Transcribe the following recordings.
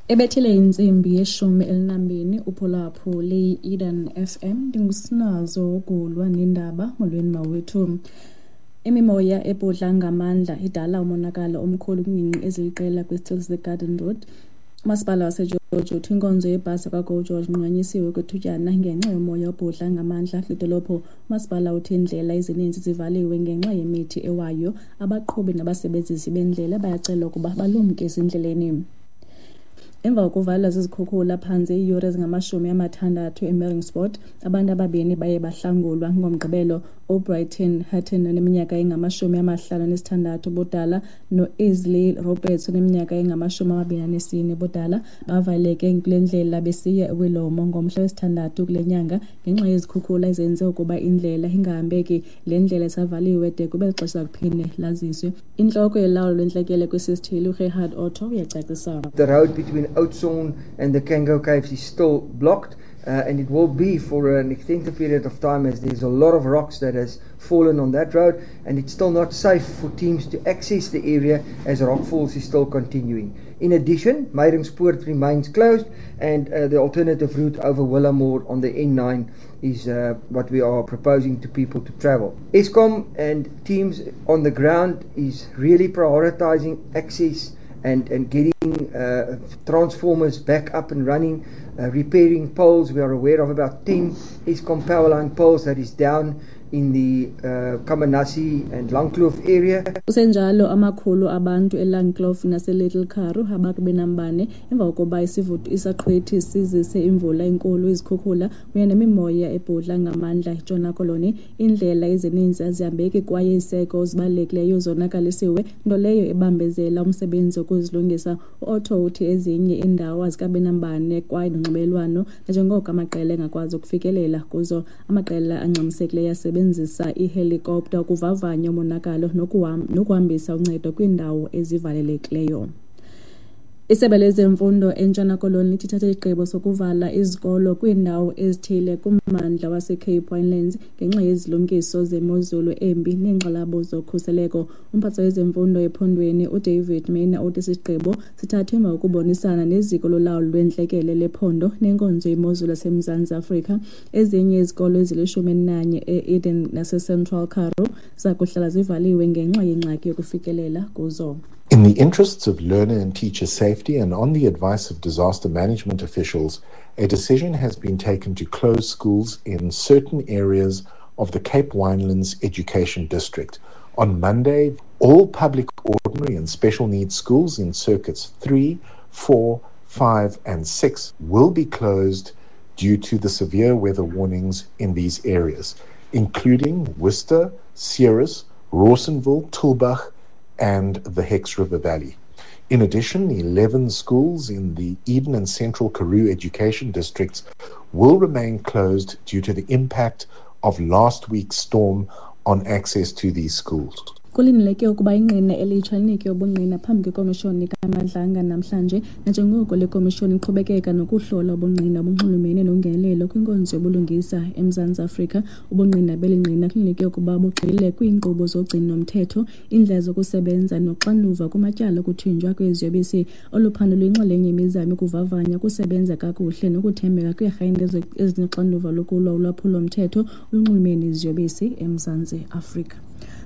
Ebethile intsimbi ye-12 uphulaphule i-Eden FM. Ndingusinazo Gulwa nendaba. Molweni mawethu. Imimoya ebhudla ngamandla idala umonakalo omkhulu kwiingingqi eziliqela kwisithili seGarden Road. Umasipala waseGeorge uthi inkonzo yebhasi yakwaGo George inqunyanyisiwe kwethutyana ngenxa yomoya obhudla ngamandla kule dolophu. Umasipala uthi iindlela ezininzi zivaliwe ngenxa yemithi ewayo. Abaqhubi nabasebenzisi bendlela bayacelwa ukuba balumke ezindleleni. Emva kokuvalwa zizikhukhula phantse iiyure ezingama-60 eMeiringspoort, abantu ababini baye bahlangulwa ngoMgqibelo. UBrighton Hutton oneminyaka engama-56 ubudala noIsley Roberts oneminyaka engama-24 ubudala bavaleleke kule ndlela besiya eWilomo ngomhla wesithandathu kule nyanga ngenxa yezikhukhula ezenze ukuba indlela ingahambeki. Le ndlela isavaliwe de kube lixesha kuphinde laziswe. Intloko yolawulo lwentlekele kwesi sithili uGerhard Otto uyacacisa. The road between Oudtshoorn and the Cango Caves is still blocked, and it will be for an extended period of time as there's a lot of rocks that has fallen on that road, and it's still not safe for teams to access the area as rockfalls is still continuing. In addition, Meiringspoort remains closed, and the alternative route over Willamore on the N9 is what we are proposing to people to travel. Eskom and teams on the ground is really prioritizing access and getting transformers back up and running, repairing poles. We are aware of about 10 Eskom power line poles that is down in the Kamanasi and Langkloof area. Kusenjalo, amakhulu abantu eLangkloof naseLittle Karoo ababe nambane emva kokuba isaqhwithi sizise imvula enkulu, izikhukhula kunye nemimoya ebhudla ngamandla eNtshona Koloni. Iindlela ezininzi azihambeki kwaye iziseko zibalulekileyo zonakalisiwe, nto leyo ebambezela umsebenzi wokuzilungisa. UOtto uthi ezinye iindawo azikabi nambane kwaye nonxibelelwano nanjengoko amaqela engakwazi ukufikelela kuzo. Amaqela angxamisekileyo asebenzisa ihelikopta ukuvavanya umonakalo nokuhambisa uncedo kwiindawo ezivalelekileyo. Isebe lezemfundo eNtshona Koloni lithi lithathe isigqibo sokuvala izikolo kwiindawo ezithile kummandla waseCape Winelands ngenxa yezilumkiso zemozulu embi neenkxalabo zokhuseleko. Umphathiswa wezemfundo ephondweni uDavid Maina uthi esi sigqibo sithathwe emva kokubonisana neziko lolawulo lwentlekele lephondo nenkonzo yemozulu yaseMzantsi Afrika. Ezinye izikolo ezili-11 e-Eden naseCentral Karoo zakuhlala zivaliwe ngenxa yengxaki yokufikelela kuzo. In the interests of learner and teacher safety and on the advice of disaster management officials, a decision has been taken to close schools in certain areas of the Cape Winelands Education District. On Monday, all public, ordinary and special needs schools in circuits 3, 4, 5 and 6 will be closed due to the severe weather warnings in these areas, including Worcester, Ceres, Rawsonville, Tulbagh and the Hex River Valley. In addition, 11 schools in the Eden and Central Karoo education districts will remain closed due to the impact of last week's storm on access to these schools. Kulindeleke ukuba ingqina elitsha linike ubungqina phambi kwekomishoni kaMadlanga namhlanje nanjengoko le komishoni iqhubekeka nokuhlola ubungqina obunxulumene nongenelelo kwinkonzo yobulungisa eMzantsi Afrika. Ubungqina beli ngqina kulindeleke ukuba bugxile kwiinkqubo zogcino-mthetho, iindlela zokusebenza noxanduva kumatyala okuthinjwa kweziyobisi. Olu phando luyinxalenye yemizamo yokuvavanya ukusebenza kakuhle nokuthembeka kweerhente ezinoxanduva lokulwa ulwaphulo-mthetho olunxulumene neziyobisi eMzantsi Afrika.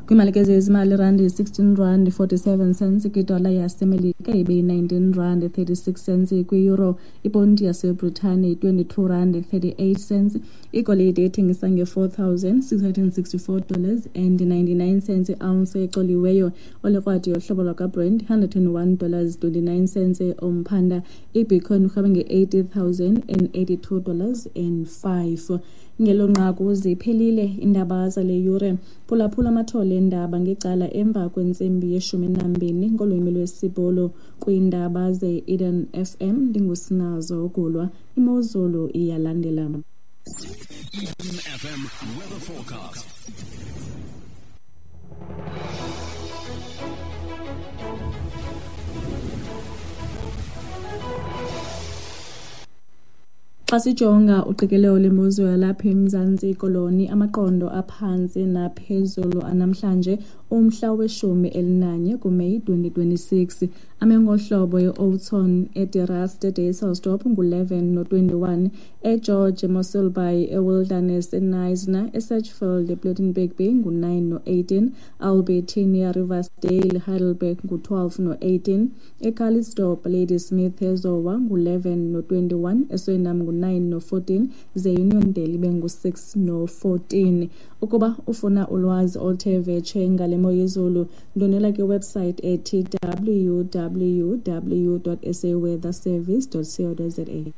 Kwiimali zezimali, irandi yi-16 rand 47 cents kwidola yaseMelika, ibe yi-19 rand 36 cents kwi-euro. Iponti yaseBritane yi-22 rand 38 cents. Igolide ethengisa nge-$4,664 and 99 cents i-ounce ecoliweyo. Olikrwada yohlobo lwakwaBrent, $101 29 cents umphanda. Ibitcoin irhweba nge-$80,082 and 5. Ngelo nqaku ziphelile iindaba zale yure. Phulaphula amathole eendaba ngecala emva kwentsimbi ye-12 ngolwimi lwesiBhulu kwiindaba ze-Eden FM. Ndingusinazo Ugulwa. Imozulu iyalandela. Eden FM weather forecast. Xa sijonga uqikelelo lwemozulu yalapha eMzantsi Koloni, amaqondo aphantsi naphezulu anamhlanje. umhla we-11 kuMeyi 2026. Ame ngohlobo e-Oudtshoorn, eDe Rust, eDysselsdorp ngu-11 no-21, eGeorge, eMossel Bay, eWilderness, eKnysna, eSedgefield, ePlettenberg Bay ngu-9 no-18, Albertinia, Riversdale, Heidelberg ngu-12 no-18, eCalitzdorp, Ladysmith, eZowa ngu-11 no-21, eSwellnum ngu-9 no-14, ze Uniondale ibe ngu-6 no-14. Ukuba ufuna ulwazi oluthe vetshe ngale mo yezulu, ndwendwela kwiwebsite ethi www.saweatherservice.co.za.